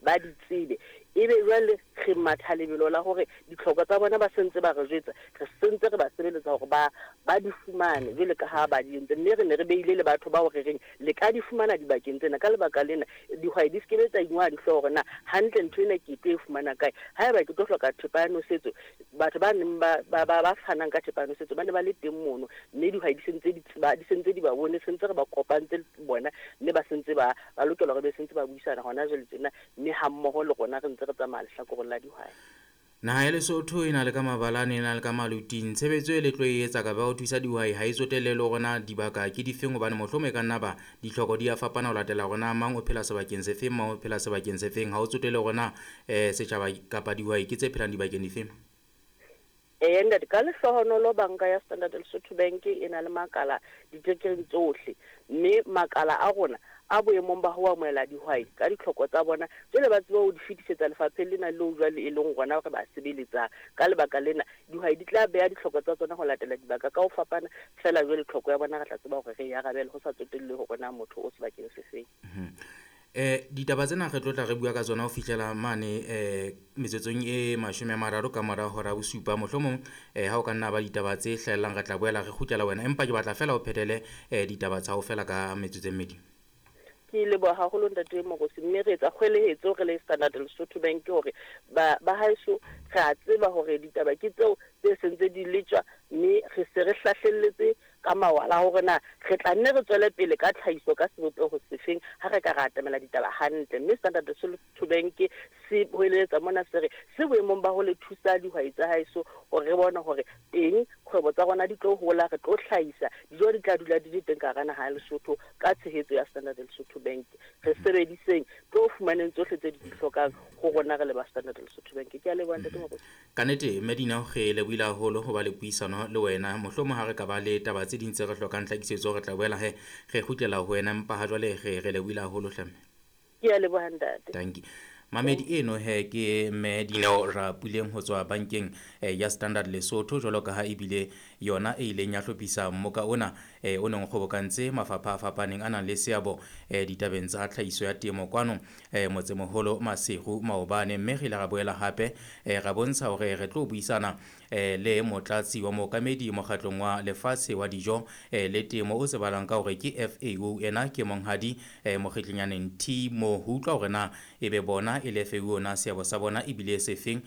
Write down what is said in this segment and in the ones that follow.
ba di tsebe. Ebe jwale re matha lebelo la hore ditlhoko tsa bona ba se ntse ba re jwetsa, re se ntse re ba sebeletsa hore ba ba di fumane jwale ka ha ba di entse. Mme re ne re beile le batho bao re reng le ka di fumana dibakeng tsena. Ka lebaka lena, dihwai di se ke be tsa ingoha dihlooho hore na hantle ntho ena ke tlo e fumana kae. Haeba ke tlo hloka thepa ya nosetso, batho ba neng ba ba ba ba fanang ka thepa ya nosetso ba ne ba le teng mono, mme dihwai di se ntse di tseba, di se ntse di ba bone, se ntse re ba kopantse le bona, mme ba se ntse ba ba lokela hore be se ntse ba buisana hona jwale tjena, mme hammoho le rona re ntse re tsamaya lehlakoreng la dihwai. Naha ya Lesotho e na le ka mabalane, e na le ka maluting. Tshebetso e le tlo e etsa kapa ya ho thusa dihwai ha e tsotelle le hore na dibaka ke difeng hobane mohlomong e ka nna ba ditlhoko di a fapana ho latela hore na mang o phela sebakeng se feng, mang o phela sebakeng se feng. Ha ho tsotelle hore na setjhaba kapa dihwai ke tse phelang dibakeng difeng. Eya ntate, ka lehlohonolo banka ya Standard Lesotho Bank e na le makala diterekeng tsohle, mme makala a rona a boemong ba ho amohela dihwai ka ditlhoko tsa bona, jwale ba tsebe ho di fetisetsa lefapheng lena leo jwale e leng rona re ba sebeletsang. Ka lebaka lena, dihwai di tla beha ditlhoko tsa tsona ho latela dibaka ka ho fapana, feela jwale tlhoko ya bona re tla tseba hore re e arabele ho sa tsotellehe hore na motho o sebakeng se feng. Ditaba tsena re tlo tla re bua ka tsona ho fihlela mane metsotsong e 30 ka mora hora bosupa. Mohlomong ha o ka nna ba ditaba tse hlahellang re tla boela re kgutlela wena, empa ke batla fela o phethele ditaba tsa hao fela ka metsotso e mmedi. Ke leboha haholo ntate Morusi, mme re etsa kgwelehetso re le Standard Lesotho Bank hore ba ba haeso re a tseba hore ditaba ke tseo tse sentse di letjwa, mme re se re hlahlelletse ka mawala hore na re tla nne re tswele pele ka tlhahiso ka sebopeho sefeng ha re ka ra atamela ditaba hantle. Mme Standard Lesotho Bank se hoeletsa mona se re se boemong ba ho le thusa dihwai tsa haeso hore re bone hore teng kgwebo tsa rona di tlo hola, re tlo hlahisa dijo, di tla dula di le teng ka hara naha ya Lesotho ka tshehetso ya Standard Lesotho Bank. Re sebediseng, tlo fumaneng tsohle tse di di hlokang ho rona re le ba Standard Lesotho Bank. Ke a leboha ntate Moruti. Ka nnete Medina re lebohile haholo ho ba le puisano le wena. Mohlomong ha re ka ba le taba tse ding tse re hlokang tlhakisetso re tla boela he re kgutlela ho wena, empa ha jwale re re lebohile haholo hle mme. Ke a leboha ntate. Dankie. Mamedi eno he ke mme Dineo Rapuleng ho tswa bankeng ya Standard Lesotho, jwalo ka ha ebile yona e ileng ya hlophisa mmoka ona o neng o kgobokantse mafapha a fapaneng a nang le seabo ditabeng tsa tlhahiso ya temo kwano motsemoholo Maseru maobane. Mme re ile ra boela hape ra bontsha hore re tlo buisana le motlatsi wa mookamedi mokgatlong wa lefatshe wa dijo le temo o tsebahalang ka hore ke FAO. Ena ke monghadi Mokgitlinyane Nthimo, ho utlwa hore na ebe bona e le FAO na seabo sa bona ebile sefeng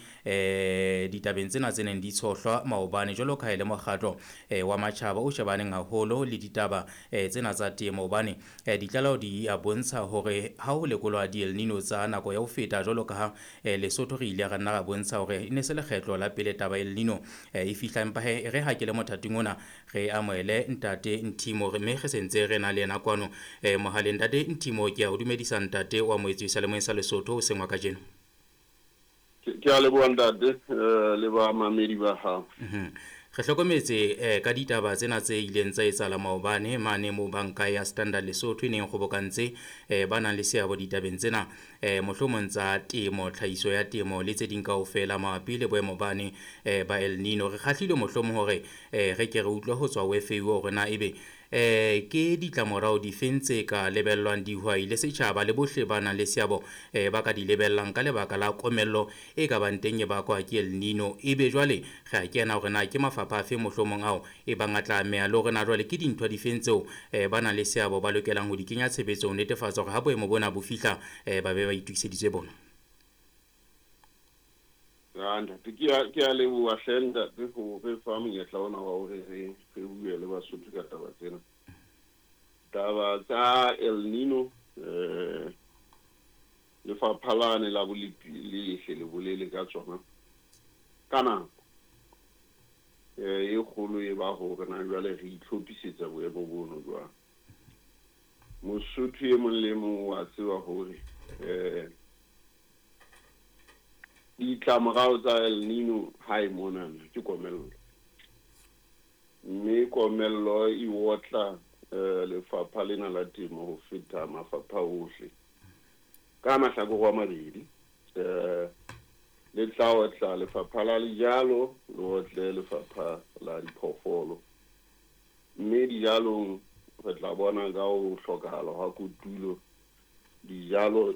ditabeng tsena tse neng di tshohlwa maobane, jwalo ka ha e le mokgatlo wa matjhaba o shebaneng haholo le ditaba tsena tsa temo. Hobane ditlaleho di a bontsha hore ha ho lekolwa di-El Nino tsa nako ya ho feta, jwalo ka ha Lesotho re ile ra nna ra bontsha hore e ne se lekgetlo la pele taba El Nino e fihla. Empa he re ha ke le mothating ona re amohele ntate Nthimo, mme re sentse re na le yena kwano mohaleng. Ntate Nthimo, ke a o dumedisa ntate wa moetsi seyalemoyeng sa Lesotho hoseng wa kajeno. Ke a leboha ntate le ba mamedi ba hao. Re hlokometse ka ditaba tsena tse ileng tsa etsahala maobane mane moo banka ya Standard Lesotho e neng kgobokantse ba nang le seabo ditabeng tsena mohlomong tsa temo, tlhahiso ya temo le tse ding kaofela mabapi le boemo bane ba El Nino. Re kgahlilwe mohlomong hore re ke re utlwe ho tswa ho FAO hore na ebe ke ditlamorao difeng tse ka lebellwang dihwai le setjhaba le bohle ba nang le seabo ba ka di lebellang ka lebaka la komello e ka bang teng e bakwa ke El Nino. Ebe jwale re a kena hore na ke mafapha afe mohlomong ao e bang a tla ameha, le hore na jwale ke dintho difeng tseo ba nang le seabo ba lokelang ho di kenya tshebetsong ho netefatsa hore ha boemo bona bo fihla ba be ba itokiseditse bona. Ya ntate, ke a leboha hle ntate ho re fa monyetla ona wa hore re bue le Basotho ka taba tsena. Taba tsa El Nino, lefapha lane la bolepi le hle le bolele ka tsona ka nako e kgolo e ba hore na jwale re itlhophisetsa boemo bono jwang. Mosotho e mong le mong wa tseba hore ditlamorao tsa El Nino hae monana ke komello, mme komello e otla lefapha lena la temo ho feta mafapha ohle ka mahlakore a mabedi. Le tla otla lefapha la dijalo, le otle lefapha la diphoofolo, mme dijalong re tla bona ka ho hlokahala hwa kotulo dijalo